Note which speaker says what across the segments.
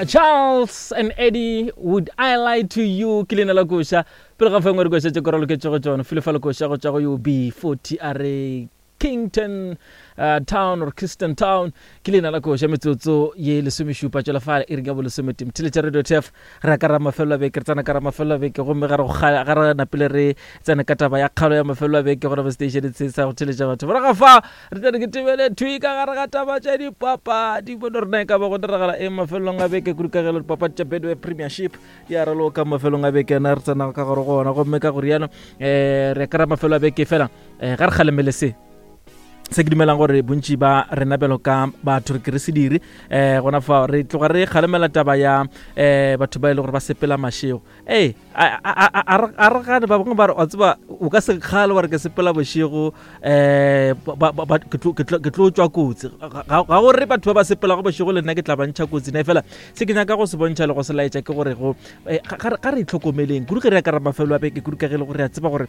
Speaker 1: Charles and Eddie, would I lie to you? Ke leina la koša. Pele ga fengwe re koša tše korolo ke tšego tšona. File fa le koša go tša go UB40 a re Kington uh, Town or Kingston Town ke leina la koša metsotso ye lesomešupa tšwela fale e reng ya bolesometee mtheletša radio tf re ya ka ra mafelelo a beke re tsena ka ra mafelelo a beke gomme ga re ga re napile re tsene ka taba ya kgalo ya mafelelo a beke gona mo station se sa go theletša batho morago fa re tla re ke tebele thwi ka gare ga taba tša dipapadi bone rena e ka ba go diragala eng mafelelong a beke kudu ka gelo dipapadi tša Betway Premiership di a raloka mafelong a beke na re tsena ka gare go ona gomme ka go rialo um re kry-a mafelo a beke fela um ga re kgalemele se se ke dumelang gore bontši ba rena bjalo ka batho re ke re se dire um gona fa re tloga re kgalemela taba ya um batho ba e le gore ba sepela mašego ee a re gane ba bangwe ba re wa tseba o ka se kgale wa re ke sepela bošego um ke tlo tswa kotsi ga gore batho ba ba sepelago bošego le nna ke tla ba ntšha kotsi na fela se ke nyaka go se bontšha le go se laetša ke gore go eh, ga re itlhokomeleng kudu ge re ya ka ra mafelo a beke kudu ka ge e le gore re a tseba gore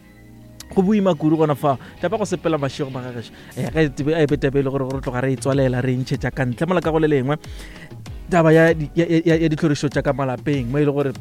Speaker 1: go boima kudu gona fa taba go sepela mašego magagešo eh, ge e be taba e le gore gore tloga re e tswalela re e ntšhetša ka ntle mola ka go le lengwe taba ya ditlhorišo tša ka malapeng mo e le gore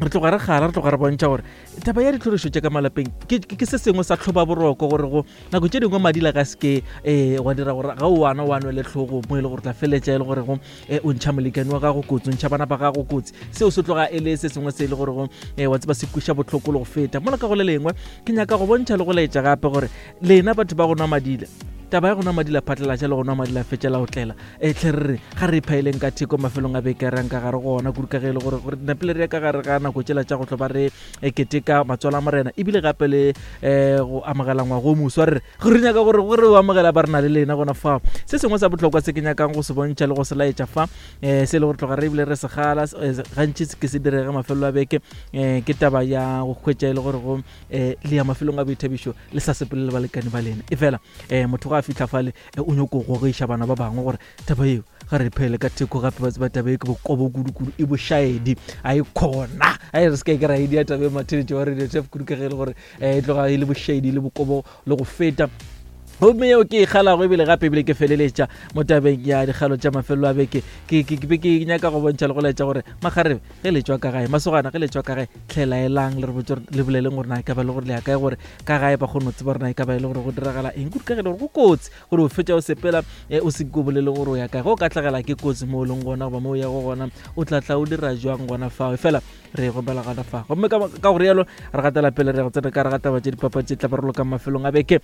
Speaker 1: re tloga re gala re tloga re bontšha gore taba ya ditlhorišo tša ka malapeng ke se sengwe sa tlhoba boroko gore go nako tše dingwe madila ka seke um wa dira gore ga o wana wa nwele tlhogo mo e le gore tla feletša e le gore go um o ntšha molekane wa gago kotsi o ntšha bana ba gago kotsi seo se tloga e le se sengwe se e le gore go um wa tseba se kweša bohloko le go feta mola ka go le lengwe ke nyaka go bontšha le go laetša gape gore lena batho ba go nwa madila taba ya go nwa madila phatlalatša le go nwa madila fetša la go tlela e tlhe re re ga re iphaeleng ka theko mafelong a beke rang ka gare go ona kudu ka ge e le gore gore napile re ya ka gare ga nako tšela tša go tlo ba re e keteka matswalo a morena ebile gape le um go amogela ngwago o moswa re re re nyaka gore gore o amogela ba re na le lena gona fa se sengwe sa bohlokwa se ke nyakang go se bontšha le go se laetša fa um se e le gore tloga re ebile re segala gantši ke se direge mafelelo a beke um ke taba ya go hwetša e le gore go um le ya mafelong a boithabišo le sa sepele le balekane ba lena e fela um motho ga a fitlha fale eh, o nyoko gogiša bana ba bangwe gore taba eo ga re phele ka theko gape ba tseba taba e ke bokobo kudu-kudu e bošaedi a e kgona a e re se ka e ke ra e dia taba e matheletše wa radio tf kudu ka ge e le gore um e tloga e le bošaedi le bokobo le go feta gomme yeo ke e kgalago ebile gape ebile ke feleletša mo tabeng ya dikgalo tša mafelelo a beke ke be ke nyaka go bontšha le go laetša gore makgarebe ge le tšwa ka gae masogana ge le tšwa ka gae tlhelaelang le re botse le boleleng gore na e ka ba le gore le ya kae gore ka gae ba kgone go tseba gore na e ka ba e le gore go diragala eng kudu ka ge le gore go kotsi gore o fetša o sepela eh, o se ko bolele gore o ya kae ge o ka tlagela ke kotsi mo o leng gona goba mo o yago gona o tla tla o dira jwang gona fao fela re gobela gona fa gomme ka go rialo re gatela pele re go tsena ka re gataba tše dipapadi tše tla barolokang mafelong a beke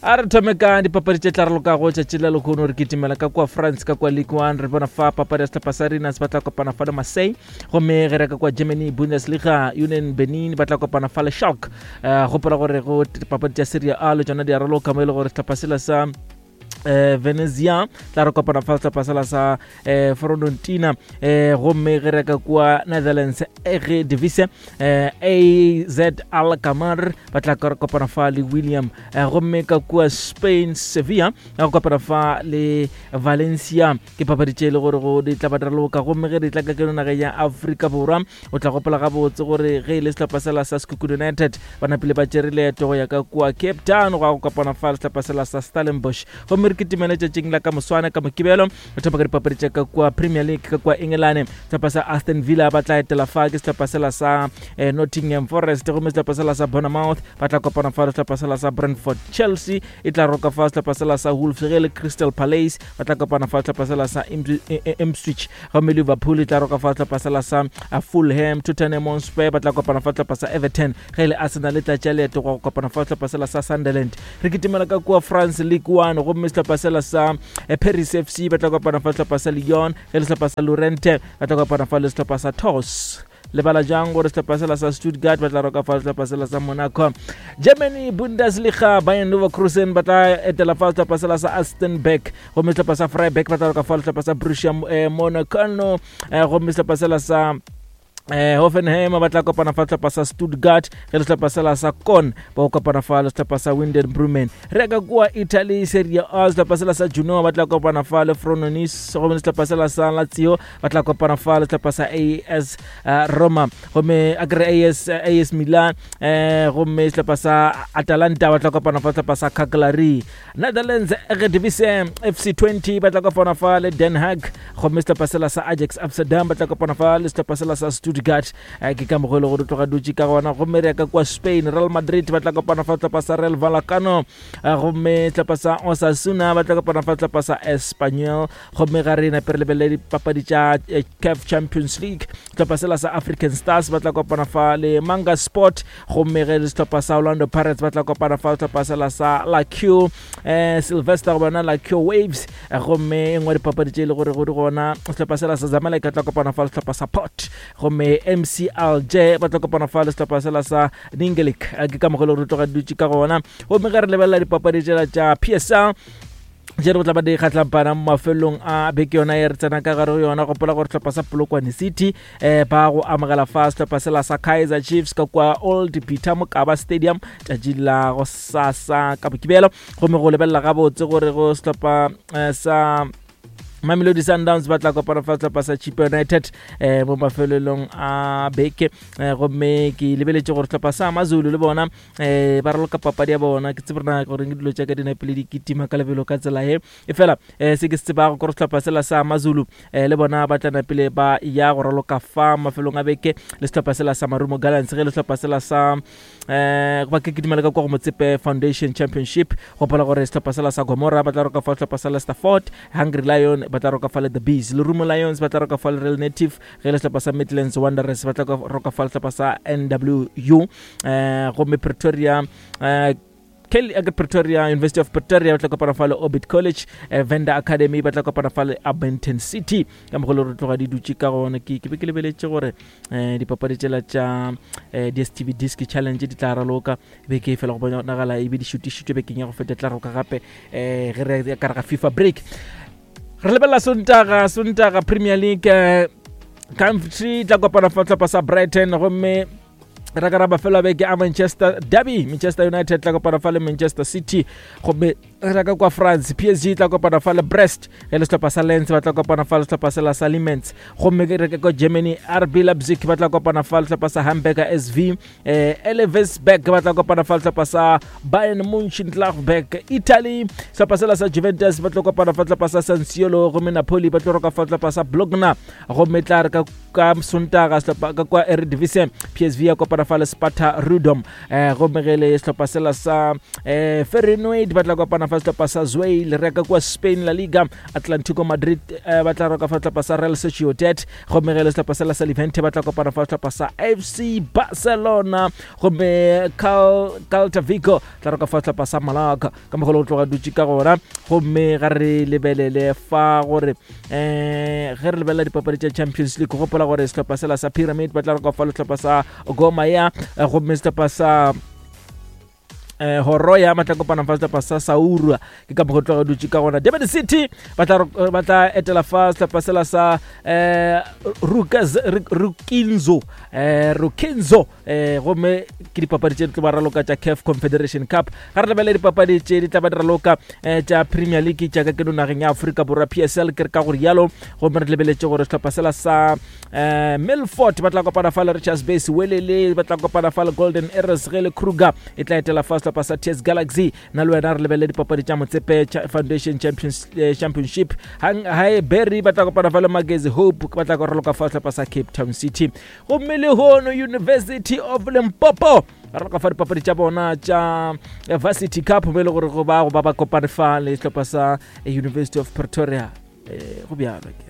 Speaker 1: A re thome ka dipapadi tše tla ralokago tšatši la lehono. Re kitimela ka kua France, ka kua Ligue 1. Re bona fa papadi ya sehlopha sa Rennes ba tla kopana fa le Marseille. Gomme ge re ka kua Germany, Bundesliga, Union Berlin ba tla kopana fa le Schalke. Uh, gopola gore go dipapadi tša Serie A le tšona di a raloka mo e le gore sehlopha sela sa eh Venezia tla re kopana fa sehlopha sela sa eh Fiorentina eh gomme ge re ka kua Netherlands ge Divise eh AZ Alkmaar ba tla kopana fa le William eh, gomme ka kua Spain Sevilla ya go kopana fa le Valencia ke papadi tše e le gore go di tla ba raloka gomme ge di tla ka keno nageng ya Afrika Borwa o tla gopola gabotse gore ge e le sehlopha sela sa Sekhukhune United ba napile ba tšere leeto go ya ka kua Cape Town go ya go kopana fa le sehlopha sela sa Stellenbosch gomme re kitimele tšatšing la ka moswane ka Mokibelo re thoma ka dipapadi tša ka kua Premier League ka kua Engelane sehlopha sa Aston Villa ba tla etela fa ke sehlopha sela sa eh, Nottingham Forest gomme sehlopha sela sa Bournemouth ba tla kopana fa le sehlopha sela sa Brentford Chelsea e tla roka fa sehlopha sela sa Wolves ge le Crystal Palace ba tla kopana fa sehlopha sela sa Ipswich gomme Liverpool e tla roka fa sehlopha sela sa eh, Fulham Tottenham Hotspur ba tla kopana fa sehlopha sa Everton ge le Arsenal e tla tšea leeto go kopana fa sehlopha sela sa Sunderland re kitimela ka kua France League 1 gomme sehlopha sela sa eh, Paris FC ba tla kopana fa sehlopha sa Lyon ge le sehlopha sa Lorient ba tla kopana fa le sehlopha sa Tours lebala jang gore sehlopha sela sa Stuttgart ba tla roka fa sehlopha sela sa Monaco Germany Bundesliga Bayern Leverkusen ba tla etela fa sehlopha sela sa Astenberg gomme sehlopha sa Freiburg ba tla roka fa sehlopha sa Borussia eh, Monaco eh, gomme sehlopha sela sa Eh, Hoffenheim ba tla kopana fa sehlopha sa Stuttgart ge le sehlopha sela sa Kon ba go kopana fa le sehlopha sa Winden Brumen. Re ka kua Italy Serie A sehlopha sela sa Genoa ba tla kopana fa le Frosinone gomme sehlopha sela sa Lazio ba tla kopana fa le sehlopha sa AS eh, Roma gomme a kere AS, eh, AS Milan eh, gomme sehlopha sa Atalanta ba tla kopana fa sehlopha sa Cagliari. Netherlands Eredivisie FC 20 ba tla kopana fa le Den Haag gomme sehlopha sela sa Ajax Amsterdam ba tla kopana fa le sehlopha sela sa Stuttgart eh, ke ka mokgwa e le gore tloga dutše ka gona gomme re ya ka kwa Spain Real Madrid ba tla kopana fa sehlopha sa Real Vallecano eh, gomme sehlopha sa Osasuna ba tla kopana fa sehlopha sa Espanyol gomme ga re nape re lebelele dipapadi tša eh, CAF Champions League sehlopha sela sa African Stars ba tla kopana fa le Manga Sport gomme ge le sehlopha sa Orlando Pirates ba tla kopana fa sehlopha sela sa La Q eh, Sylvester go bona La Q Waves eh, gomme e nngwe dipapadi tše e le gore go di gona sehlopha sela sa Zamalek ba tla kopana fa le sehlopha sa Port gomme MC Alger ba tla kopana fa le sehlopha sela sa Ningelik eh, ke ka mogolo re tloga dutše ka gona gomme ge re lebelela dipapadi tšela tša PSL tše re go tla ba di kgatlampana mo mafelong a beke yona e re tsena ka gare go yona gopola gore sehlopha sa polokwane city um ba go amogela fa sehlopha sela sa kaizer chiefs ka kwa old peter mokaba stadium tšatši la go sasa ka mokibelo gomme go lebelela gabotse gore go sehlopha eh, sa Mamelodi Sundowns ba tla kopana fa sehlopha sa Chippa United eh mo mafelelong a beke eh, gomme ke lebeletše gore sehlopha sa Amazulu le bona um ba raloka papadi ya bona ke tsebe rena gore ke dilo tša ka di napele di kitima ka lebelo ka tsela ye e fela um se ke se tsebago kore sehlopha sela sa mazulu um le bona ba tla napele ba ya go raloka fa mafelong a beke le sehlopha sela sa marumo gallants ge le sehlopha sela sa um ba ke kitimela ka kwa go motsepe foundation championship gopola gore sehlopha sela sa gomora ba tla roka fa sehlopha sa lester fort hungry lion ba tla roka fa le the bees lerumo lions ba tla roka fa le real native ge le sehlopha sa midlands wanderers ba tla roka fa sehlopha sa nwu um gomme pretoria um Kelly eh, Pretoria University of Pretoria ba tla kopana fa le Orbit College eh, Venda Academy ba tla kopana fa le Abington City ka mogolo re tloga di dutše ka gona ke ke be ke lebeletše gore eh, dipapadi tšela tša eh, DStv Disc Challenge di tla raloka beke e fela go bonagala e be di šutišitšwe bekeng ya go feta tla roka gape eh, ge re ka re ga FIFA break re lebelela sontaga sontaga premier league eh, country tla kopana fa tlhopha sa brighton gomme ra ka ra mafelo a beke a manchester derby manchester united tla kopana fa le manchester city gomme re ka kwa france psg tla kopana fa le brest ge le sehlopha sa lens ba tla kopana fa le sehlopha sela sa limens gomme re ka kwa germany rb leipzig ba tla kopana fa le sehlopha sa hamburger sv eh, Elversberg ba tla kopana fa sehlopha sa Bayern Mönchengladbach Italy sehlopha sela sa Juventus ba tlo kopana fa sehlopha sa San Siro gomme Napoli ba tlo roka fa sehlopha sa Bologna gomme tla re ka ka Sontaga sehlopha ka kwa Eredivisie PSV ya kopana fa le Sparta Rotterdam eh, gomme ge le sehlopha sela sa eh, Feyenoord ba tla kopana fa sehlopha sa Zwolle re ka kwa Spain La Liga Atlantico Madrid eh, ba tla roka fa sehlopha sa Real Sociedad gomme ge le sehlopha sela sa Levante ba tla kopana fa sehlopha sa FC Barcelona gomme Celta Vigo tla roka fa sehlopha sa Malaga ka mogolo go tloga dutše ka gona gomme ga re lebelele fa gore um ge re lebelela dipapadi tša Champions League gopola gore sehlopha sela sa Pyramid ba tla roka fa sehlopha sa Goma ya gomme sehlopha sa eh horo ya matla kopana fa sehlopha sa Saurua ke ka mokgwa tloga dutše ka gona Durban City ba tla ba tla etela fa sehlopha sela sa eh Rukaz Rukinzo eh Rukinzo eh gomme ke dipapadi tše di tlo ba raloka tša CAF Confederation Cup ga re lebelele dipapadi tše di tla ba di raloka eh, tša Premier League tša ka keno nageng ya Afrika Borwa PSL ke re ka gore yalo gomme re lebeletše gore sehlopha sela sa eh Milford ba tla kopana fa le Richards Bay Welele ba tla kopana fa le Golden Arrows ge le Kruger e tla etela fa sehlopha sa TS Galaxy na le wena re lebelele dipapadi tša Motsepe Foundation Champions eh, Championship Hang High Berry ba tla kopana fa le Magezi Hope ba tla raloka fa sehlopha sa Cape Town City gomme lehono University of Limpopo ba raloka fa dipapadi tša bona tša eh, Varsity Cup mo e le gore go ba go ba ba kopane fa le sehlopha sa eh, University of Pretoria eh, go bjalo ke.